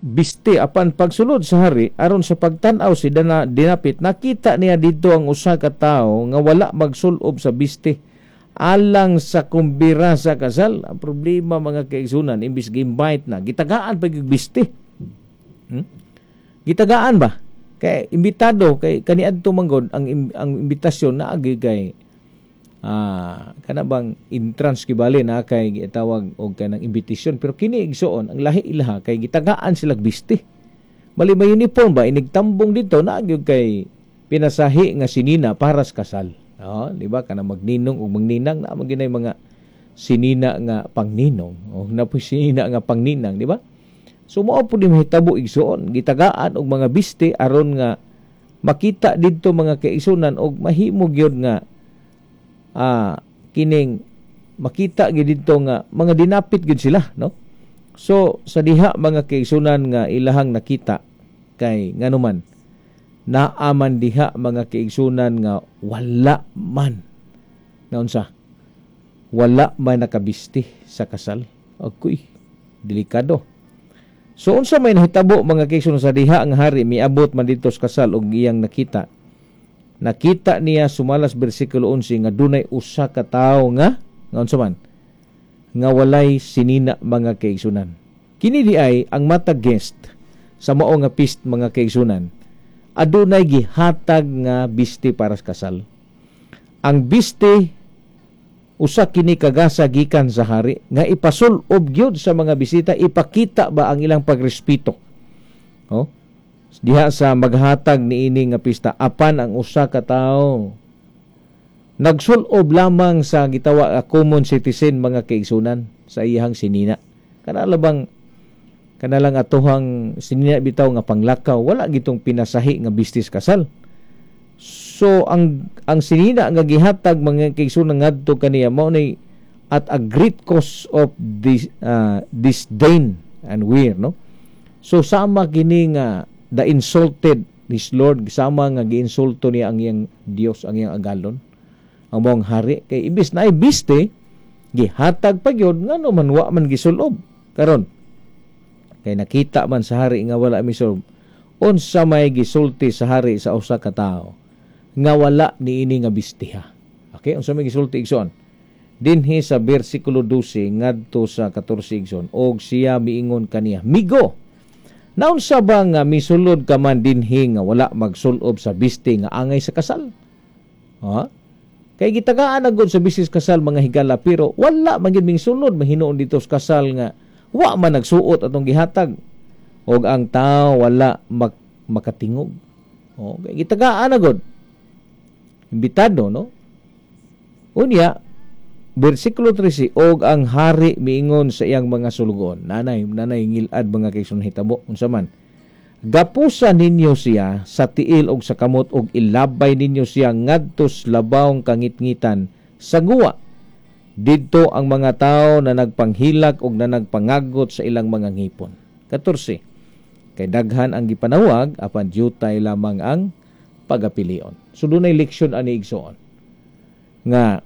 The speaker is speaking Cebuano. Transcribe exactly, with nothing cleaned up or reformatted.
biste. Apan pagsulod sa hari aron sa pagtan-aw si dana dinapit, nakita niya didto ang usa ka tawo nga wala magsulob sa biste alang sa kumbira sa kasal. Ang problema, mga kaigsunan, imbis gi-invite na, gitagaan pa gyud biste. Hmm? Gitagaan ba? Kay imbitado kay kaniadto manggod ang ang imbitasyon na agi kay ah kana bang entrance kibali na kay gitawag og kanang invitation, pero kini, igsuon, ang lahi ilaha kay gitagaan sila biste. Bali may uniform ba, inigtambong dito na gyud kay pinasahi nga sinina para sa kasal. Oh, di ba, kana magninong ug magninang na man ginay mga sinina nga pangninong o na po sinina nga pangninang, di ba? So mao pud ni mahitabo, igsuon, gitagaan og mga biste aron nga makita didto, mga kaigsunan, og mahimo gyud nga ah, kining makita gyud didto nga mga dinapit gyud sila, no? So sa diha, mga kaigsunan, nga ilahang nakita kay nganuman naaman diha, mga kaigsunan, nga wala man nga unsa, wala man nakabisti sa kasal. Akoy, delikado. So unsa may nahitabo, mga kaigsunan, sa diha ang hari miabot man didto sa kasal og iyang nakita nakita niya sumalas bersikulo labing-onse nga dunay usa ka tawo nga nga unsa man, nga walay sinina, mga kaigsunan. Kini di ay ang matag guest sa mao nga feast, mga kaigsunan, adunay gihatag nga biste para sa kasal. Ang biste, usa kini kagasa gikan sa hari nga ipasul-ob gyud sa mga bisita, ipakita ba ang ilang pagrespeto. Oh, diha sa maghatag niini nga pista. Apan ang usa ka tawo nagsulob lamang sa gitawa a common citizen, mga kaigsunan, sa iyang sinina. Kana bang kana lang atuhang sinina bitaw nga panglakaw, wala gitong pinasahi nga bistis kasal. So ang ang sinina nga gihatag, mga kaigsunan, ngadto kaniya mao ni at a great cause of this, uh, disdain and weir, no? So sama kini nga the insulted his Lord, sama nga giinsulto niya ang iyang Dios, ang iyang agalon, ang maong hari, kay imbis na ay biste gihatag pa gyud, ngano man wa man gisulob? Karon kay nakita man sa hari nga wala misulob, unsa may gisulti sa hari sa usa ka tawo nga wala niini nga bistiha? Okay, unsa may gisulti, igsoon, dinhi sa bersikulo dose ngadto sa katorse, igsoon? Og siya miingon kaniya, "Migo, naunsa ba nga misulod ka man dinhi nga wala magsulob sa biste nga angay sa kasal?" Ha? Kay gitagaan na gud sa bistis kasal, mga higala, pero wala man gyud mingsulod mahinuon dito sa kasal nga wa man nagsuot atong gihatag. Og ang tao wala mak makatingog. O, kay gitagaan na gud. Imbitado, no? Unya, bersikulo trese, og ang hari miingon sa iyang mga sulugoon. Nanay, nanay ngilad, mga kaigsoon, hitabo. Unsa man? "Gapusa ninyo siya sa tiil og sa kamot og ilabay ninyo siya ngadto sa labawng kangitngitan sa guwa. Didto ang mga tao na nagpanghilak og na nagpangagot sa ilang mga ngipon." katorse. Kay daghan ang gipanawag apan dyutay lamang ang pagapilion. So dunay leksyon ani, igsoon. Nga